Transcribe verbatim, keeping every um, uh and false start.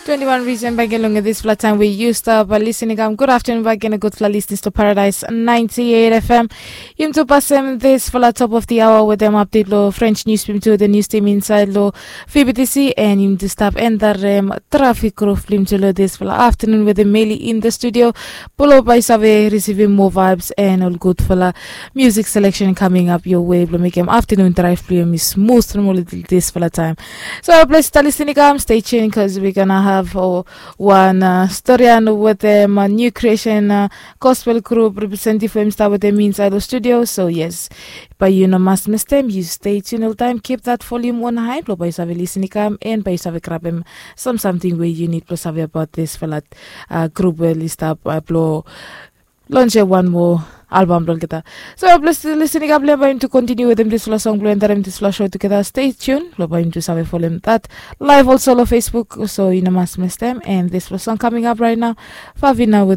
Twenty-one reason back in long this flat time we used up. Listening, um, good afternoon back in a good flat listeners to Paradise ninety-eight F M. Yum to pass them this for the top of the hour with them update lo French news film to the news team inside lo F B T C and yum to stop and the um, traffic group film to lo this for the afternoon with the Meli in the studio. Pulo by Save receiving more vibes and all good for the music selection coming up your way. Lo make him afternoon drive play me smooth from all this for the time. So please stay listening, um, stay tuned because we're gonna have uh, one uh, story and with them a new creation uh, gospel group representative from Star with them inside the studio. So yes, but you know must miss them. You stay tuned all time. Keep that volume on high. Blow by Save listening, um, and by Save grab him some something where you need to Save about this for that uh, group where list up uh, blow launch one more album blong kita. So please listening up, learn by him to continue with him this last song, learn that him this last show together. Stay tuned, lo by him to Save follow him that live also lo Facebook. So you know must miss them, and this last song coming up right now, Favina with